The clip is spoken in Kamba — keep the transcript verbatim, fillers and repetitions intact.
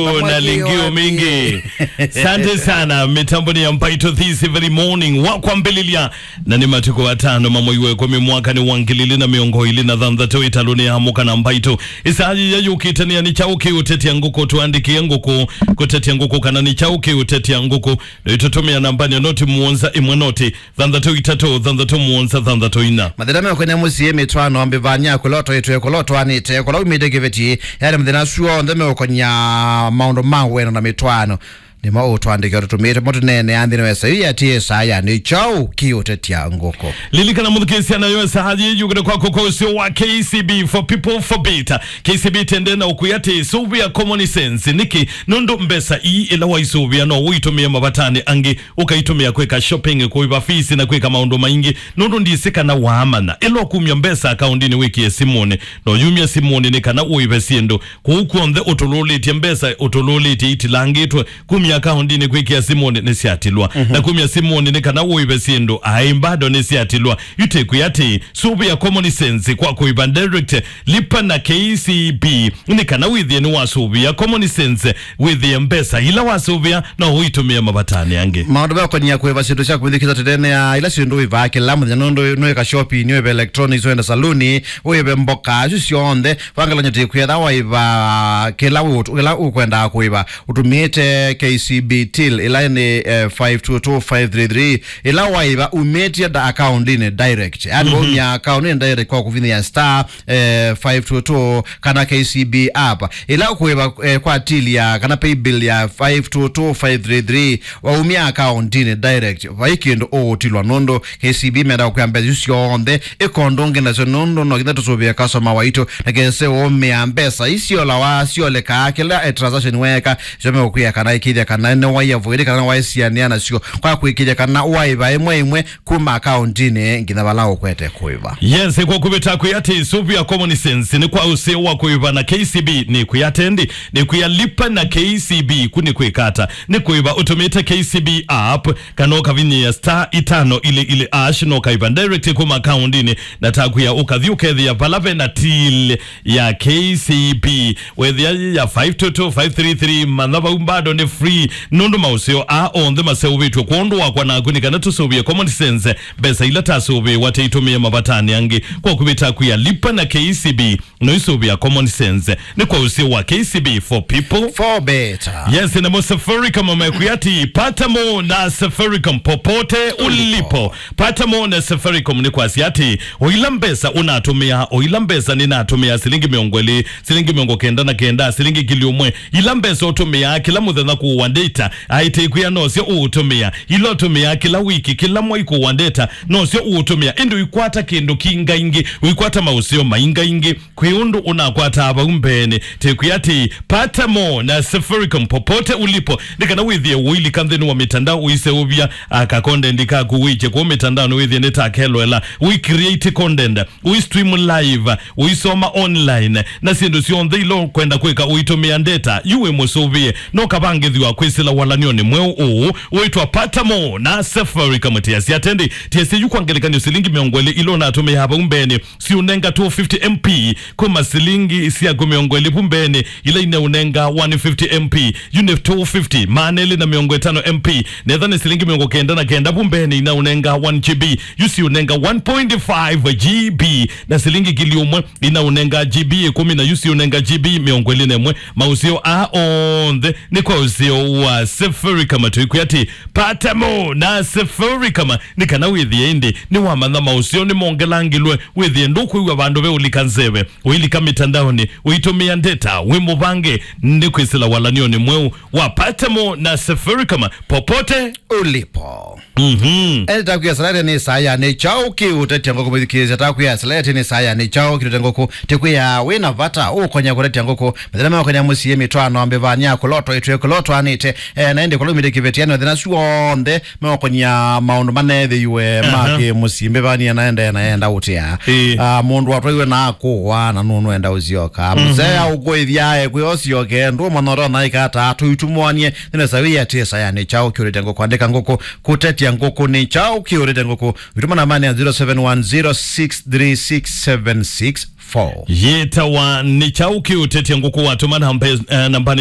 na lingio mingi. Asante sana, mitamboni ya Mbaitũ this very morning. Wa kwambĩlĩlya, na nĩ matukũ atano ma mwei wa ĩkũmi mwaka nĩ wa ngili ilĩ na mĩongo ĩlĩ na thanthatũ, ĩtalũnĩ ya Amũka na Mbaitũ. Ĩsaa yĩya yũkĩte nĩ ya nĩ kyaũ kĩũtetya ngũkũ, tũandĩkĩe ngũkũ, kũtetya ngũkũ, kana nĩ kyaũ kĩũtetya ngũkũ. Nĩtũtũmĩa nambani ya noti mũonza ĩmwe noti thanthatũ itatũ thanthatũ mũonza thanthatũ ina. Mathĩna meũkony'a mũsyĩ, mĩtwaano, mbĩvany'a, kũla ũtoetwe, kũla ũtwaanĩte, kũla umĩte kĩveti, yani mathĩna asu onthe meũkony'a maũndũ ma wendo na mĩtwaano. Nĩmo ũtũandĩkĩa tũtũmĩĩte mo tũneenea nthĩnĩ wa ĩsaa yĩĩ ya ĩsaa ya nĩ kyaũ kĩũtetya ngũkũ. Lilikana mũthukĩĩsya nayo ĩsaa yĩĩ yũkĩte kwaku kwa ũseo wa K C B, for people, for better. K C B tende na ũkwĩa atĩ sũvĩa common sense. Nĩkĩ? Nũndũ mbesa ii ĩla waisũvĩa no ũitũmĩe mavatanĩ angĩ, ũkaitũmĩa kwĩka shopping, kũĩva fees na kwĩka maũndũ maingĩ. Nũndũ ndisĩ kana waamanya, ĩla ũkumya mbesa akaũndinĩ wĩkĩe simũnĩ, no yumya simũnĩ nĩ kana ũĩve syĩndũ. Kũu kw'onthe ũtũlũlĩtye mbesa, ũtũlũlĩtye itilangĩtwe, kumya akaũndinĩ kwĩkĩa simũnĩ nĩsyatilwa. Mhm. Na kumya simũnĩ nĩ kana ũĩve syĩndũ, aĩ, bado nĩsyatilwa. Yu tĩkwĩa atĩ, sũvĩa common sense kwa kũĩva direct, lipa na K C B, nĩ kana wĩthĩe nĩwasũvĩa common sense, wĩthĩe mbesa ila wasũvĩa no ũitũmĩe mavatanĩ angĩ. Maũndũ meũkony'a kũĩva syĩndũ sya kũmĩthukĩĩsya tene ya ila syĩndũ wĩvaa kĩla mũthenya, nũndũ nũĩka shopping, nũĩve electronics, wenda saluni, wĩve mboka, asu syonthe. Vangelany'o tĩkwĩtha waĩva kĩla wĩ-, kĩla ũkwendaa kũĩva, ũtũmĩĩte K C B till, ĩla nĩ, eh, five two two five three three, ĩla waĩva umĩtye da-, akaũndinĩ direct. Yani, mhm, waumya akaũndinĩ direct kwa kũvinyĩa star, eh, five two two kana K C B app. Ĩla ũkũĩva, eh, kwa till ya, kana pay bill ya five two two five three three, waumya akaũndinĩ direct. Vai kĩndũ ũũtilwa nũndũ K C B menda kũkwĩa mbesa isu syonthe, ĩkondũ ngĩ nasyo nũndũ no nginya tũsũvĩe customer waitũ, na kese ũũmĩa mbesa isyolawa syoleka kĩla, eh, transaction weeka, syo meũkwĩa kana ĩkĩthya kana nĩwaiavoid kana nĩwaisianĩa nasyo, kwa kwĩkĩthya kana waĩva ĩmwe ĩmwe kuma akaũndinĩ nginya vala ũkwete kũĩva. Yes, kwa kũvĩta kwĩ atĩ sũvĩa common sense nĩ kwa ũseo wa kũĩva na K C B nĩ kwĩ atendi, nĩ kwĩa lipa na K C B ku nĩ kwĩkata, nĩ kũĩva ũtũmĩte K C B app, kana ũkavinyĩa star itano ili ili ash, no ũkaĩva direct kuma akaũndinĩ, na takwĩa ũkathi ũkethĩa vala ve na till ya K C B. Wethĩa ya five two two five three three, manya vau bado nĩ free, nũndũ maũseo aa onthe maseũvĩtw'e kwondũ wakwa naku, nĩ kana tũsũvĩe common sense, mbesa ila tasũvĩwa tĩitũmĩe mavatanĩ angĩ. Kwa kũvĩta kwĩa lipa na K C B, no isũvĩa common sense. Nĩ kwa ũseo wa K C B, for people, for better. Yes, namo Safaricom mekwĩa atĩ, pata mo na Safaricom popote ulipo. Pata mo na Safaricom nĩ kwasya atĩ, o ila mbesa ũnatũmĩa, o ila mbesa nĩnatũmĩa, silingi mĩongo ĩlĩ, silingi mĩongo kenda na kenda, silingi ngili ũmwe, ila mbesa ũtũmĩaa kĩla mũthenya kũũa data, aĩ tĩkwĩa nosyo ũũtũmĩa, ila ũtũmĩaa kĩla wiki, kĩla mwai kũũa data, nosyo ũũtũmĩa, ĩndĩ ũikwata kĩndũ kingaingĩ, ũikwata maũseo maingaingĩ, kwĩ ũndũ ũnakwataa vau mbeenĩ. Tĩkwĩa atĩ, pata mo na Safaricom popote ulipo, nĩ kana wĩthĩe ũilika nthĩnĩ wa mitandao ũiseũvya, ah, kakondendi kaku wĩkye kũu mitandaonĩ, wĩthĩe nĩtakelwela, ũi create content, ũi stream live, ũisoma online, na syĩndũ syonthe ila ũkwenda kwĩka ũitũmĩa data. Yu wĩ mũsũvĩe, no kavangĩthw'a kwĩsĩla walany'onĩ mweũ ũũ wĩtwa pata mo na Safaricom. Tiasya atendi, tiasya yu kwa ngelekany'o silingi mĩongo ĩlĩ ila ũnatũmĩaa vau mbeenĩ, siũnenga two fifty M P, kuma silingi syaku mĩongo ĩlĩ vu mbeenĩ, ila ineũnenga one fifty M P, yu nĩ two fifty, maana elĩ na mĩongo ĩtano M P, netha nĩ silingi mĩongo kenda na kenda vu mbeenĩ, inaũnenga one G B, yu siũnenga one point five G B, na silingi ngili ũmwe inaũnenga G B ĩkũmi, na yu siũnenga G B mĩongo ĩlĩ na ĩmwe. Maũseo aa onthe nĩ kwa ũseo wa Safaricom. Tũikwĩa atĩ, pata mo na Safaricom, nĩ kana wĩthĩe ĩndĩ nĩwamanya maũseo nĩmongelangĩlwe, wĩthĩe ndũkwĩw'a vandũ ve ũlika nzeve, ũilika mitandaonĩ, ũitũmĩa data, wĩ mũvange nĩ kwĩsĩla walany'onĩ mweũ wa pata mo na Safaricom popote ulipo. Mhm. Ene takwĩa salete nĩ saa ya nĩ kyaũ kĩũtetya ngũkũ, mwĩthukĩĩsya takwĩa salete nĩ saa ya nĩ kyaũ kĩũtetya ngũkũ, tĩkwĩa wĩ na vata ũkony'a kũtetya ngũkũ, mathĩna meũkony'a mũsyĩ, mĩtwaano, mbĩvany'a, kũla ũtoetwe, kũla ũtwaanĩte, eh, na ĩndĩ kũla umĩte kĩvetianĩ, mathĩna asu onthe meũkony'a maũndũ maneethĩiwe ma kĩmũsyĩ, mbĩvany'a na ende na enda ũtĩa. Ĩĩ. Ah, mũndũ watwaiwe na akũwa na nũnũ enda ũsyoka. Mhm. Mũsea ũkũĩthya ekwĩ osyoke, ndũ mwana ũtona ĩkata, tũitumwanie, nĩnesa wĩ atĩ saa ya nĩ kyaũ kĩũtetya ngũkũ, andĩka ngũkũ, kũtetya ngũkũ nĩ kyaũ kĩũtetya ngũkũ. Wĩtũma nambanĩ ya zero seven one zero six three six seven six four. Yĩtawa nĩ kyaũ kĩũtetya ngũkũ, watũma namba, eh, nambanĩ